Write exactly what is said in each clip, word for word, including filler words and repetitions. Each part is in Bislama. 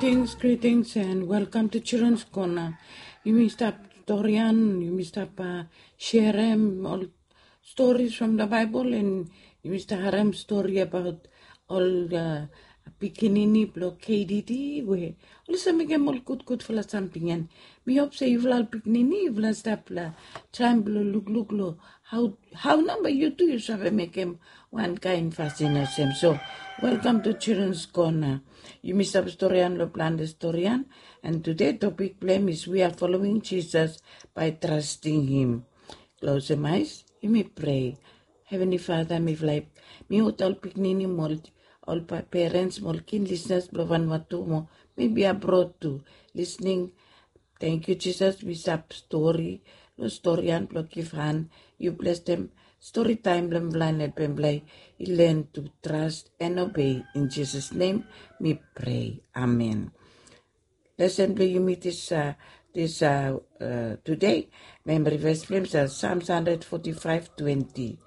Greetings, greetings, and welcome to Children's Corner. Yumi stap storian, yumi stap uh, serem ol stories from the Bible, and yumi stap harem stori abaot ol uh, pikinini blong K D D we oli save mekem ol gudgudfala samting. And mi hop se yufala ol pikinini yufala stap long traem blong lukluk long hao, hao nao bae yu tu yu save mekem wan kaen fasin olsem. So, welcome to Children's Corner. Yumi stap storian long plante storian, and tede topik blong hem is we are following Jesus by trusting him. Klosem aes, yumi prea. Heavenly Father, mifala i, mi ol pikinini mo ol, ol pa-, parents mo ol keen listeners blong Vanuatu mo mebi abrod tu, listening. Tangkiu Jisas, mi stap stori long storian blong givhan. Yu blesem stori taem blong mifala, helpem mifala i len tu trust and obey. In Jesus' name mi prea. Amen. Lesen blong yumi dis, uh, dis uh, uh, tede, memory verse blong hem is uh, Psalms hundred forty-five twenty.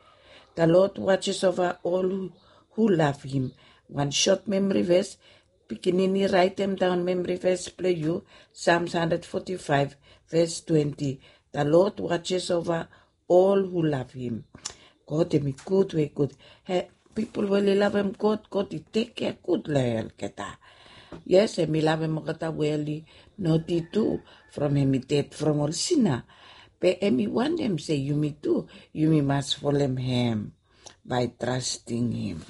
The Lord watches over all who, who love him. Wan sot memory verse, pikinini raetem daon memory verse blong yu, Psalms hundred forty-five verse twenty. The Lord watches over all who love him. God hem i gud we gud. He, pipol we oli lavem God, God i tekkea gud long olgeta. Yes, hem i lavem olgeta we oli noti tu, from hem i ded from ol sina. Be hem i wantem se yumi tu, yumi mas folem hem by trusting him.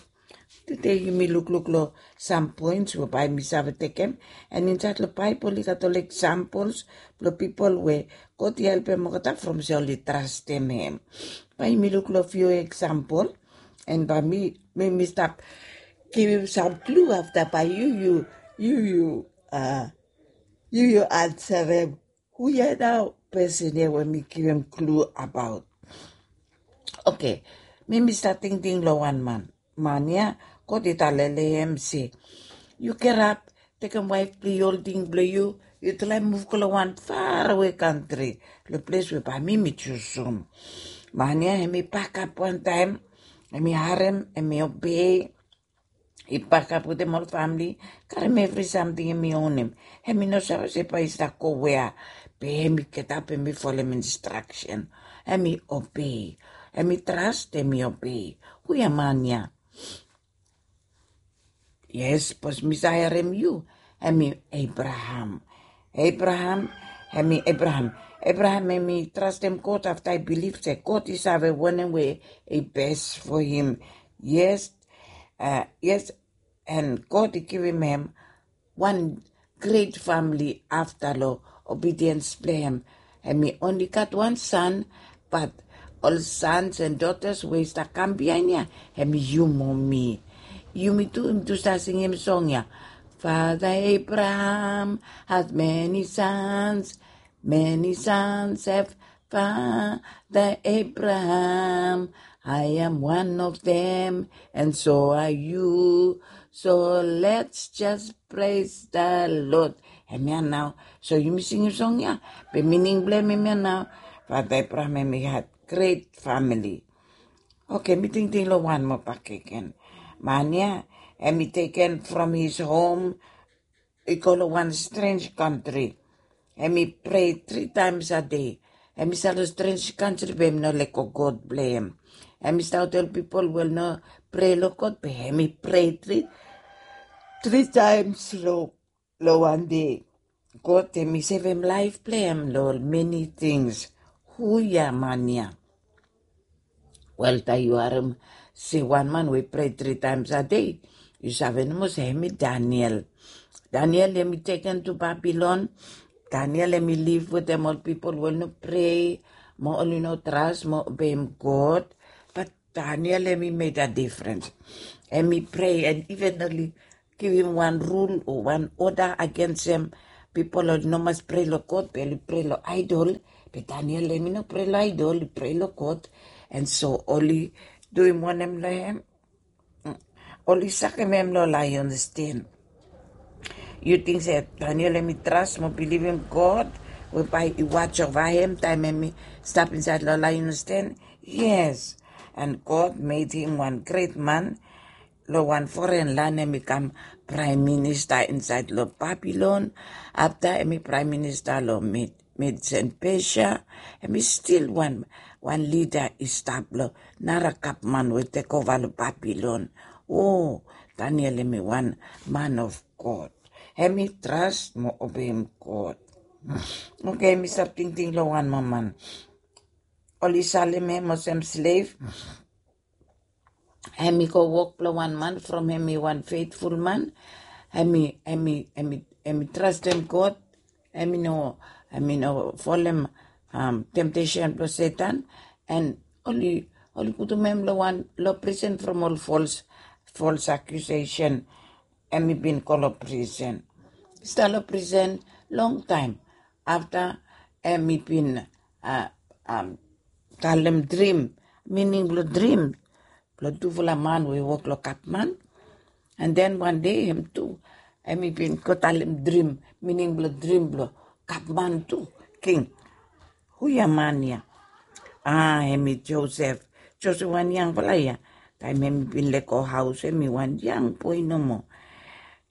Tede yumi lukluk long sam poens we bae mi save tekem, and insaed long Baebol i gat ol examples blong pipol we God i helpem olgeta from se oli trastem hem. Bae yumi luk long fiu example, and bae mi, mi, mi stap givim sam clue afta bae yu, yu, yu, yu, uh, yu, yu ansarem. Hu ya nao pesen ya we mi givim clue abaot? Oke, mi mi stap tingting long wan man. Man ya, God i talem long hem se, yu gerap, tekem waef blong yu, ol ting blong yu, yu traem muv go long wan faraway kantri, long ples we bae mi mi jusum. Man ya hem i pakap wantaem, hem i harem, hem i obei. I pakap wetem ol famili, karem evri samting hem i onem. Hem i no save se bae i stap go wea, be hem i getap, hem i folem instraksen. Hem i obei. Hem i tras, hem i obei. Hu ya man ya? Yes, bikos mi save harem yu. Hem i Abraham. Abraham, hem i Abraham. Abraham hem i trastem God afta i bilif se God i save wanem we i bes fo him. Yes, uh, yes, and God i givim hem wan gret famili afta long obediens blong hem. Hem i onli gat wan san, bat ol sons and daughters we i stap kam biaen ya, hem i yu mo mi. Yumi tu, yumi tu stap singim song ya. Father Abraham had many sons, many sons have Father Abraham, I am one of them, and so are you. So let's just praise the Lord. Hemia nao. So yumi singim song ya, be mining blong hem hemia nao. Father Abraham hem i had gret famili. Oke, mi tingting long wan moa bakegen. Man ya hem i teken from his home, i go long wan strenj kantri. Hem i prea tri taems a dei. Hem i stap long strenj kantri be hem i no lego God blong hem. Hem i stap olsem ol pipol we oli no prea long God, be hem i prea tri, tri taems long, long wan dei. God hem i sevem laef blong hem long ol meni tings. Hu ya man ya? Wel, taem yu harem se wan man we i prea tri taems a dei, yu save nomo se hem i Daniel. Daniel hem i teken tu Babilon. Daniel hem i liv wetem ol pipol we oli no prea mo oli no tras mo obeim God. Bat Daniel hem i mekem difrens. Hem i prea, and iven oli givim wan rul o wan oda agensem pipol oli no mas prea long God, be oli prea long aedol. Be Daniel hem i no prea long aedol, i prea long God. And so oli duim wanem long hem? Mm. Oli sakem hem long laeons den. Yu ting se Daniel hem i tras mo bilivim God we bae i watch over hem taem hem i stap insaed long laeons den? Yes. And God made him wan gret man. long wan foren lan, hemi kam praem minista insaed long Babilon. Afta hemi praem minista long Med, Medes and Persia. Hemi stil wan, wan lida i stap long nara gavman we tekova long Babilon. O, Daniel hemi wan man of God. Hemi tras mo obeim God. Oke, mi stap tingting long wan moa man. Oli salem hem olsem slev. Hemi go wok blong wan man from hemi wan feitful man. Hemi, hemi, hemi, hemi trastem God. Hemi no, hemi no folem, um, temptesen blong Setan. And oli, oli putum hem long wan, long prisen from ol false, false accusation. Hemi bin go long prisen. Stap long prisen longtaem. Afta hemi bin, uh, um, talem drim, mining blong drim blong tufala man we wok long gavman. And then wan dei hem tu, hemi bin go talem drim, mining blong drim blong gavman tu, king. Hu ya man ya? Ah, hemi Josef. Josef wan yangfala ya. Taem hemi bin lego haos, hemi wan yang boe nomo.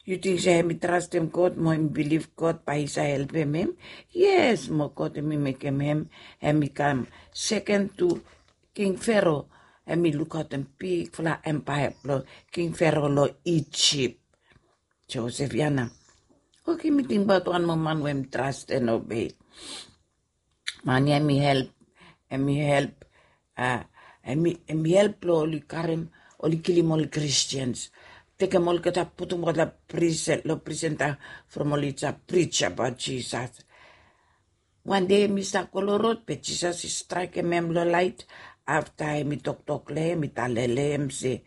Yu ting se hemi trastem God mo hemi bilif God bae i save helpem hem? Yes, mo God hemi mekem hem, hemi kam seken tu King Fero. Hemi lukaotem bigfala empaea blong King Fero long Ijip. Josef ya nao. Oke, mi tingbaot wan moa man we hemi tras and obei. Man ya hemi help, hemi help, ah, hemi, hemi help blong oli karem, oli kilim ol Christians. Tekem olgeta, putum olgeta prisen, long prisen, from oli stap pris abaot Jisas. Wan dei hemi stap go long rod, be Jisas i straekem hem long laet. Afta hemi toktok long hem, i talem long hem se,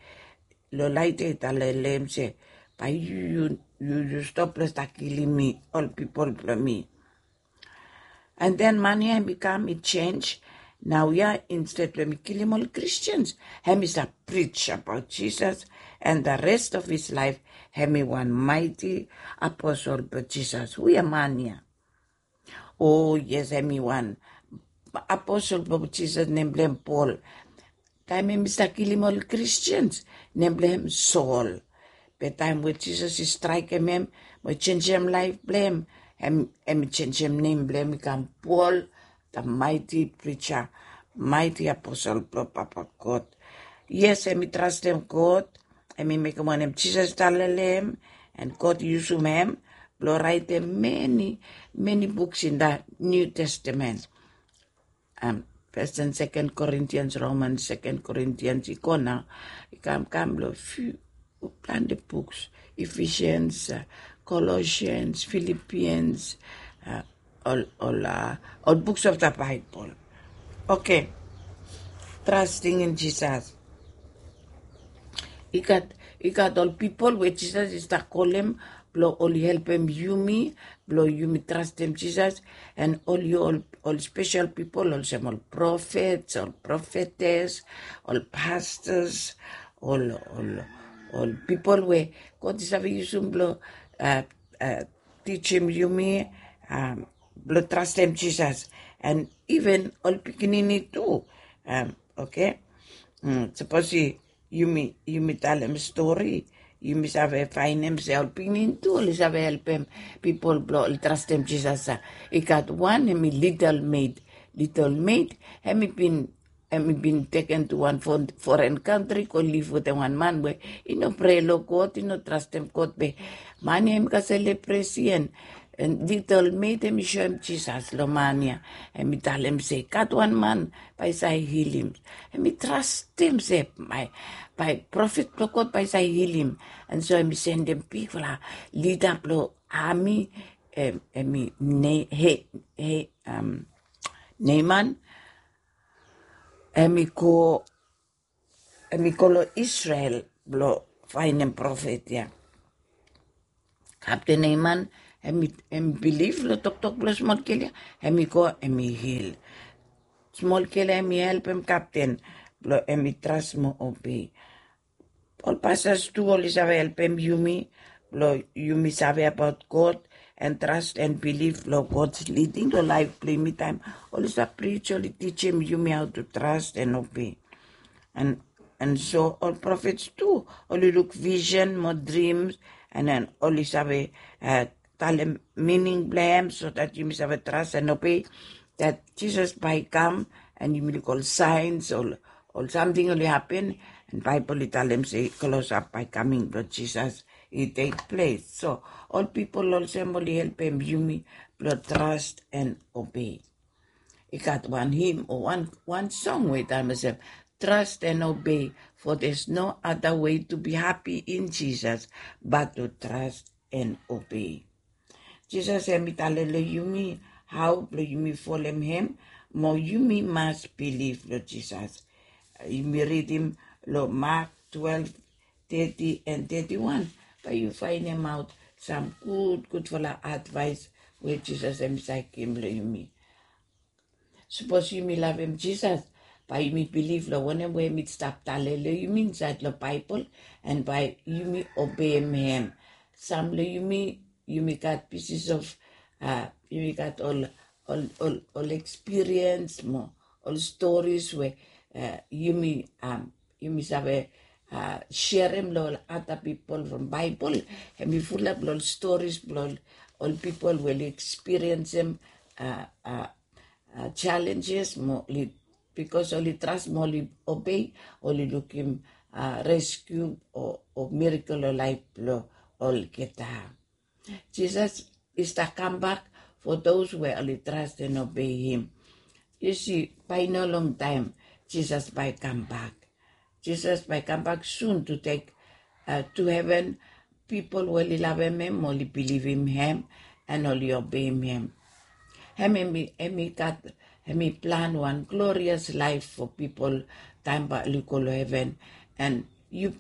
long laet ya i talem long hem se, bae yu, yu, yu, yu stop blong stap kilim mi, ol pipol blong mi. And then man ya hemi kam, i jenis. Naoia, instead blong hemi kilim ol Christians, hemi stap pris abaot Jisas, and the rest of his life hemi wan maeti aposol blong Jisas. Hu ya man ya? O yes, hemi wan aposol blong Jisas, nem blong hem Pol. Taem hemi stap kilim ol Christians, nem blong hem Sol. Be taem we Jisas i straekem hem, mo i jenisim laef blong hem, hem, hemi jenisim nem blong hem, i kam Pol, the mighty preacher, mighty aposol blong Papa God. Yes, hemi trastem God, hemi mekem wanem Jisas i talem long hem, and God i yusum hem blong raetem many, many books in the New Testament. Um, First and Second Corinthians, Romans, Second Corinthians, i go nao, i kam, kam long few, plante books, Ephesians, uh, Colossians, Philippians, uh, ol, ol, uh, ol books of the Bible. Oke. Trusting in Jesus. I gat, i gat ol pipol we Jisas i stap kolem blong oli helpem yumi blong yumi trastem Jisas, and oli ol, ol spesel pipol olsem ol profets, ol profetes, ol pastors, ol, ol, ol pipol we God i save yusum blong, uh, uh, tijim yumi, um, blong trastem Jisas. And even ol pikinini tu, um, oke. Mm, sapos yumi, yumi talem stori, yumi save faenem se ol pikinini tu oli save helpem pipol blong oli trastem Jisas. I gat wan, hemi Little Maid. Little Maid, hemi bin, hemi bin teken tu wan fo-, foren kantri go liv wetem wan man we i no prea long God, i no trastem God, be man ya hemi gat lepresi, and, and Little Maid hemi soem Jisas long man ya. Hemi talem se i gat wan man bae i save hilim. Hemi trastem se bae, bae profet blong God bae i save hilim. And so hemi sendem bigfala lida blong ami, em, hemi Ne-, he, he, um, Neaman. Hemi go, hemi go long Israel blong faenem profet ya. Kapten Neaman, hemi, hemi bilif long toktok blong smol gel ya, hemi go, hemi hil. Smol gel ya hemi helpem kapten blong hemi tras mo obei. Ol pastors tu oli save helpem yumi blong yumi save abaot God, and trust and bilif long God's leading long laef blong yumi taem oli stap prij, oli tijim yumi how to trust and obey. And And so ol profets tu oli luk vision mo dreams, and then oli save uh, talem meaning blem, so that yumi save trust and obey that Jesus bai kam, and yumi luk ol signs, ol ol samting oli happen, and Bible i talem se close up bai coming blong Jesus i take place. So ol people olsem oli helpem yumi blong trust and obey. I gat wan hymn o wan wan song we i talem olsem, trust and obey, for there's no other way to be happy in Jesus but to trust and obey. Jesus hem i talem long yumi hao blong yumi folem hem, mo yumi mas bilif long Jesus. Yumi ridim long Mark twelve thirty and thirty-one, bai yu fainemaot sam gudgudfala advaes we Jesus hem i save givim long yumi. Sapos yumi lavem Jesus, bai yumi bilif long wanem we hem i stap talem long yumi insaed long Baebol, and bai yumi obeim hem. Sam long yumi, yumi gat pieces of uh, yumi gat ol ol ol ol experience mo ol stories we uh, yumi um, yumi save uh, sherem long ol other people from Baebol. Hem i fulap long ol stories blong ol people we oli experiencem uh, uh, uh, challenges mo oli, because oli trust mo oli obey, oli lukim uh, rescue o, o miracle o laef blong olgeta. Jesus i stap kambak for those we oli trust and obey him. Yu si, bai no long taem Jesus bai kambak. Jesus bai kambak soon to take uh, to heaven people we oli lavem hem, oli bilivim hem, and oli obeim hem. Hem hem i gat hem i plan wan glorious laef for people taem bai oli go long heven. And yu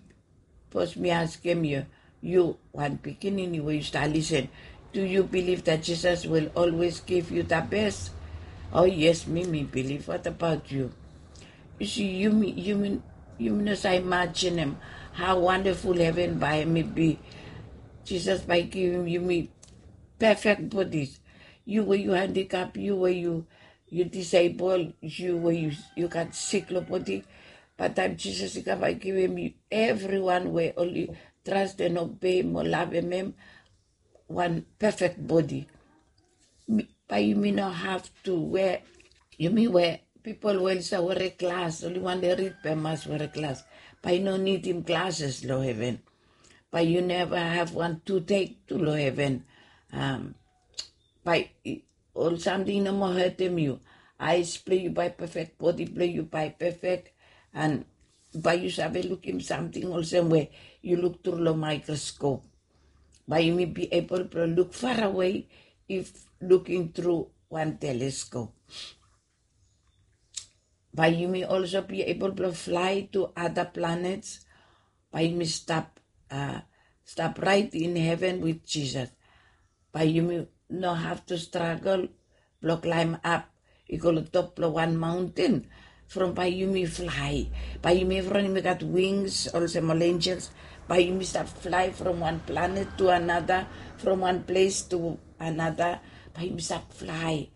Sapos mi askem yu, yu wan pikinini we yu stap lisen, do you believe that Jesus will always give you the best? Oh yes, mi mi bilif. What about you? Yu si, yumi yumi yumi no save imajinem hao wandaful heven bai hem i bi. Jesus bai givim yumi pefek bodis. Yu we yu handikap, yu we yu yu disable, yu we yu yu gat sik long bodi. Bat taem Jesus i kam bai givim evriwan we oli trust and obey mo lavem hem wan pefek bodi. Bae yumi no have to we, yumi we pipol we oli save were glas, oli wantem rid bae mas were glas. Bae i no nidim glases long heven. Bae yu neva have wan toothache tu long heven. Bae ol samting i no moa hetem yu. Aes blong yu bae pefek, bodi blong yu bae pefek, and bae yu save lukim samting olsem we yu luk tru long maekroskop. Bae yumi be able blong luk farawe if luking tru wan teleskop. Bae yumi also be able blong flae to other planets. Bae yumi stap stap raet in heven wit Jisas. Bae yumi no have to stragel blong klaem ap i go long top blong wan maonten. From bae yumi flae, bae yumi evriwan yumi gat wings olsem ol enjels. Bae yumi stap flae from wan planet to anata, from wan ples to anata. Bae yumi stap flae.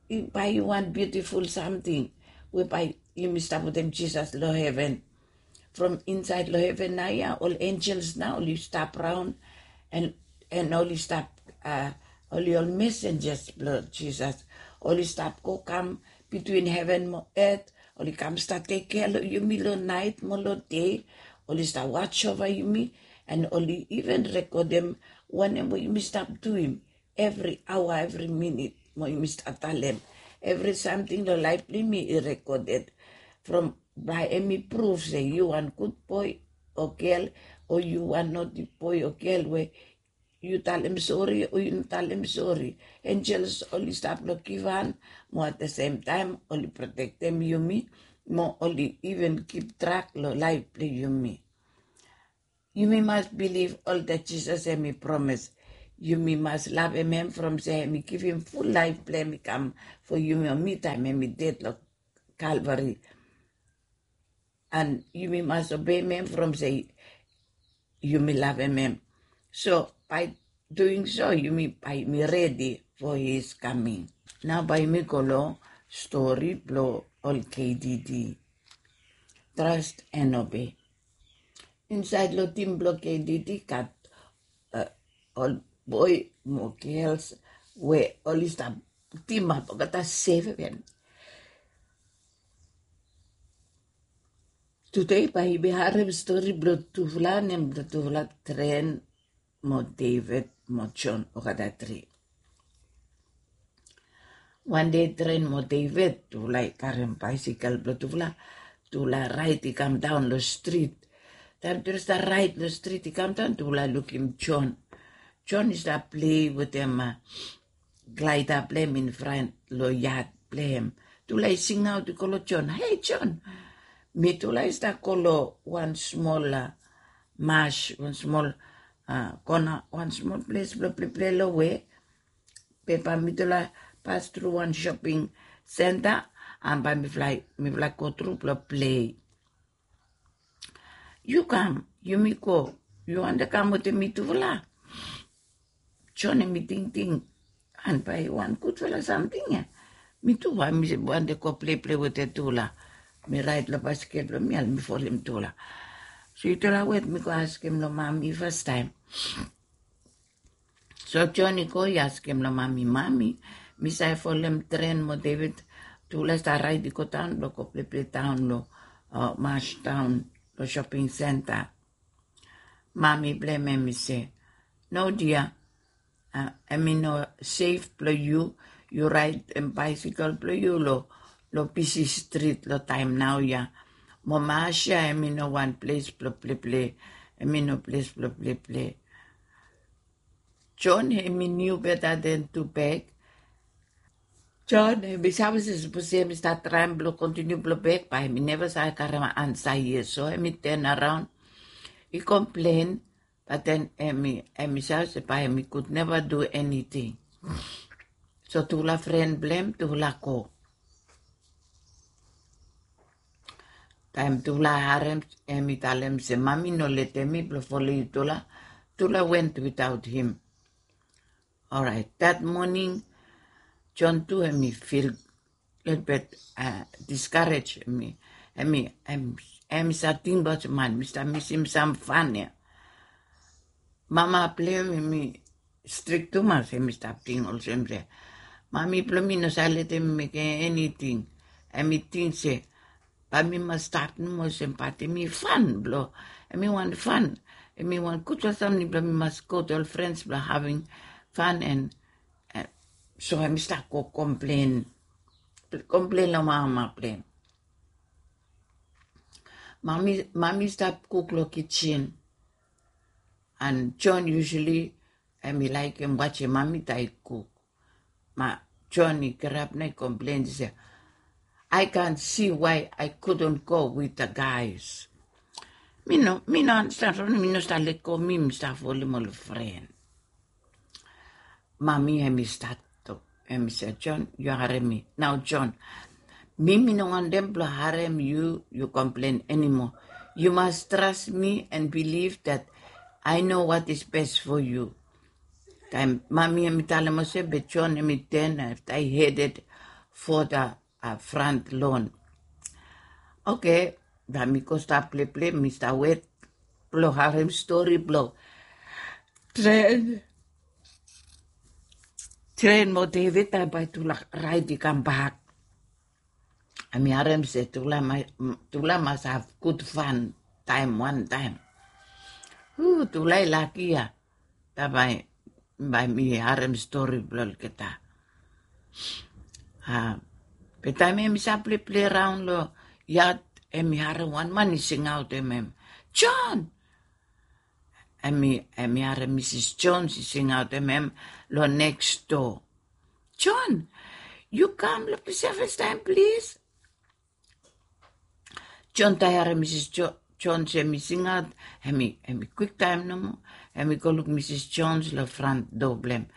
Bae i wan biutiful samting we bae yumi stap wetem Jisas long heven. From insaed long heven naoia ol enjels nao oli stap raon, and oli stap, oli ol mesenjas blong Jisas. Oli stap go kam bitwin heven mo et. Oli kam stap tekea long yumi long naet mo long dei. Oli stap waj ova yumi, and oli iven rekodem wanem we yumi stap duim evri aoa, evri minit, mo yumi stap talem. Evri samting long laef blong yumi i rekoded. From bae hem i pruv se yu wan gud boe o gel, o yu wan noti boe o gel we yu talem sori o yu no talem sori. Enjels oli stap long givhan, mo at the same taem oli protektem yumi, mo oli iven kip trak long laef blong yumi. Yumi mas bilif olgeta Jisas hem i promes. Yumi mas lavem hem from se hem i givim ful laef blong hem i kam fo yumi o mi taem hem i ded long Kalvari. And yumi mas obeim hem from se yumi lavem hem. So bae duing so yumi bae yumi redi fo his kaming. Nao bae yumi go long stori blong ol K D D. Trust and obey. Insaed long tim blong KDD gat ol boe mo gels we oli stap timap olgeta seven. Tude bae yumi harem stori blong tufala, nem blong tufala Tren mo David mo John, olgeta tri. Wan dei Tren mo David tufala i karem baesekel blong tufala, tufala raed i kamdaon long strit. Taem tufala stap raed long strit i kamdaon, tufala lukim John. John i stap plei wetem glaeda blong hem infran long yad blong hem. Tufala i singaot i go long John, "Hei John, mitufala i stap go long wan smol mas, wan smol kona, wan smol ples blong pleplei long we. Be bae mitufala pas tru wan shoping senta, an bae mifala i go tru blong plei. Yu kam, yumi go. Yu wantem kam wetem mitufala?" John hemi tingting, an bae wan gudfala samting ya. Mi tu bae mi wantem go pleplei wetem tufala. Mi raed long baesekel blong mi, an mi folem tufala. So yutufala wet, mi go askem long mami fastaem. So John i go i askem long mami, "Mami, mi save folem Tren mo David?" Tufala stap raed i go daon blong go pleplei daon long mas daon long shoping senta. Mami blong hem hemi se, "No dia, hemi no sef blong yu, yu raedem baesekel blong yu long bisi strit long taem naoia. Mo mas ya hemi no wan ples blong pleplei, hemi no ples blong pleplei." John hemi niu beta den tu bek. John hemi save se sapos hemi stap traem blong kontiniu blong bek, bae hemi neva save karem ansa yet. So hemi tenaraon i komplen, bae den hemi save se bae hemi gud neva du eniting. So tufala fren blong hem tufala go. Taem tufala harem hemi talem se mami no letem mi blong folem yutufala, tufala went without him. Oraet, that morning John tu hemi fil lelebet diskarej. Hemi save ting baot se man, mi stap misim sam fan ya. Mama blong hem hemi strik tumas, hemi stap ting olsem se mami blong mi no save letem mi mekem eniting. Hemi ting se bae mi mas stap nomo olsem, bat hemi fan blong, hemi wan fan, hemi wan gudfala samting blong mi mas go tu ol frens blong having fan. And so hemi stap go komplen, komplen long mama blong hem. Mami stap kuk long kijen, and John usually hemi laekem wajem mami taem i kuk. Ma John i kirap nao i komplen se, "I can't see why I couldn't go with the guys." Mi no, mi no anastan, mi no stap lego mi, mi stap folem ol fren. Mami hemi stat tok, hemi se, "John, yu harem mi nao, John. Mi, mi no wantem blong harem yu, yu komplen anymore. You must trust me and believe that I know what is best for you." Taem mami hemi talem olsem, be John hemi ten afta i headed for the front lawn. Oke, bae mi go stap pleplei, mi stap wet blong harem stori blong Tren, Tren mo David taem bae tufala raed i kambak. Hemi harem se tufala mas have gud fan taem wantaem. Hu, tufala i laki ya. Taem bae mi harem stori blong olgeta. Be taem hemi stap pleplei raon long yad, hemi harem wan man i singaotem hem, "John!" Hemi harem Misis Jones i singaotem hem long neks doa, "John, yu kam long ples ya fastaem, plis." John taem i harem Misis Jones hemi singaot, hemi kwiktaem nomo hemi go luk Misis Jones long front doa blong hem.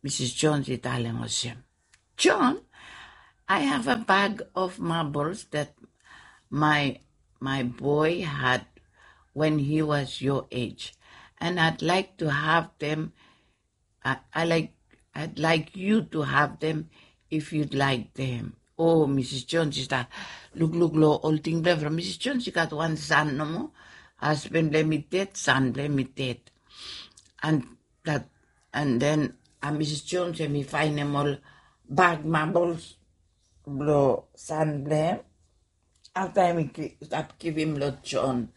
Misis Jones i talem olsem, "John, I have a bag of marbles that my, my boy had when he was your age, and I'd like to have them, I, I like, I'd like you to have them if you'd like them." O Misis Jones i stap lukluk long ol ting blong hem from Misis Jones i gat wan san nomo. Hasben blong hem i ded, san blong hem i ded. And that, and then Misis Jones hem i faenem ol bag marbles blong san blong hem. Afta hem i stap givim long John.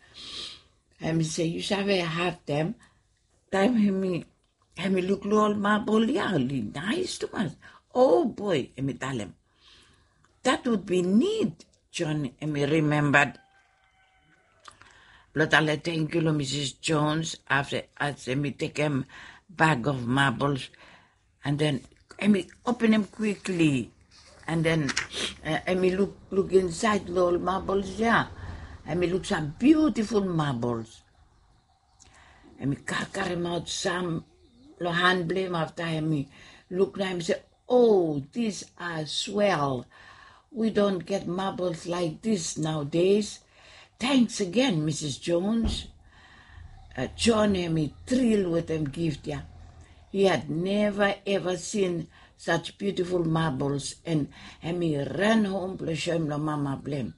Hem i se, yu save haftem. Taem hem i hem i lukluk ol mabol ya, oli naes tumas. O boe, hem i talem, that would be neat. John hem i rimemba blong talem tangkiu long Misis Jones afta as hem i tekem bag of marbles. And then hem i openem kwikli. And then hem i lukluk insaed long ol marbles ya. Hem i luk sam biutiful marbles. Hem i karemaot sam long han blong hem afta hem i luk na hem i se, o, these are swell. We don't get marbles like this nowadays. Thanks again, Misis Jones. John hem i tril wetem gift ya. He had never ever seen such beautiful marbles and hem i ran hom blong soem long mama blong hem.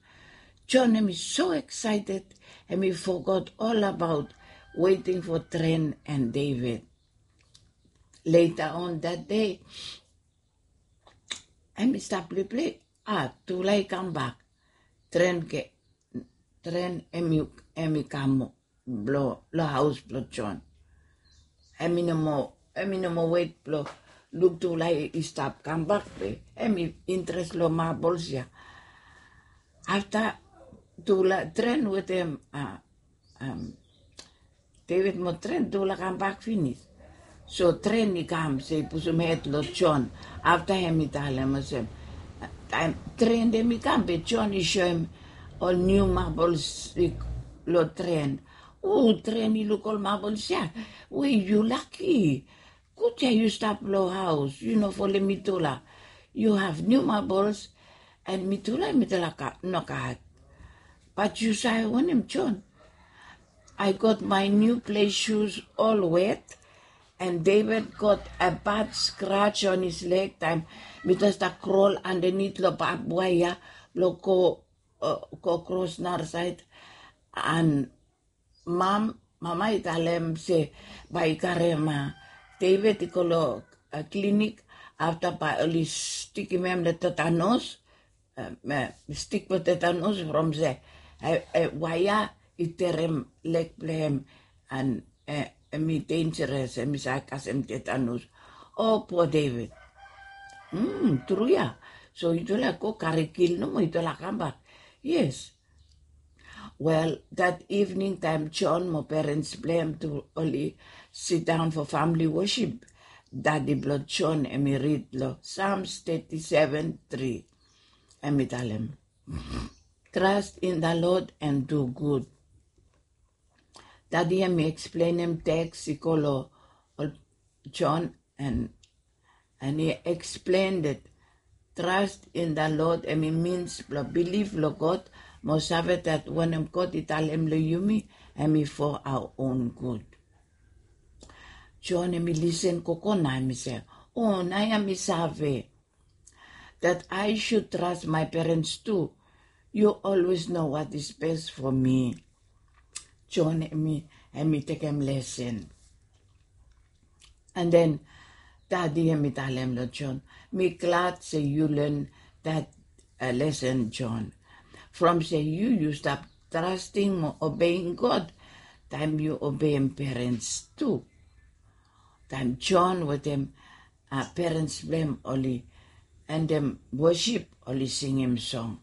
John hem i so excited, hem i fogot ol abaot weting fo Tren and David. Later on that day, hem i stap pleplei, a, tufala i kambak. Tren hem i kam long haos blong John. Hem i no moa hem i no moa wet blong luk tufala i stap kambak be hem i interes long marbles ya. Afta tufala Tren wetem David mo Tren tufala kambak finis. So Tren i kam se i pusum hed long John. Afta hem i talem olsem, taem Tren hem i kam be John i soem ol niu marbles long Tren. O, Tren i luk ol marbles ya. We, yu laki. Gud ya yu stap long haos, yu no folem mitufala. Yu have niu marbles and mitufala mitufala nogat. Bat yu save wanem, John? I got my new play shoes all wet and David got a bad scratch on his leg taem mitufala stap krol andanit long bab waea blong go kros narasaed. And mam mama i talem se bae i karem David i go long klinik. Afta bae oli stikim hem long tetanos, stik blong tetanos from se waea i terem leg blong hem. And hem i denjeres, hem i save kasem tetanos. O, pua David. Tru ya. So yutufala go kari kil nomo, yutufala kambak. Yes. Wel, that evening taem John mo perens blong hem tu oli sidaon fo famili wosip, dadi blong John hem i rid long Psalms thirty-seven three. Hem i talem, trust in the Lord and do good. Dadi hem i eksplenem teks i go long ol John and and i eksplen that trust in the Lord hem i mins blong bilif long God mo save that wanem God i talem long yumi hem i for our own good. John hem i lisen gogo na hem i se, o, naoia mi save that I should trust my parents too. You always know what is best for me. John hem i tekem lesen. And then dadi hem i talem long John, mi glad se yu len that lesen, John. From se yu yu stap trasting mo obeim God taem yu obeim perens tu. Taem John wetem perens blong hem oli endem wosip, oli singim song.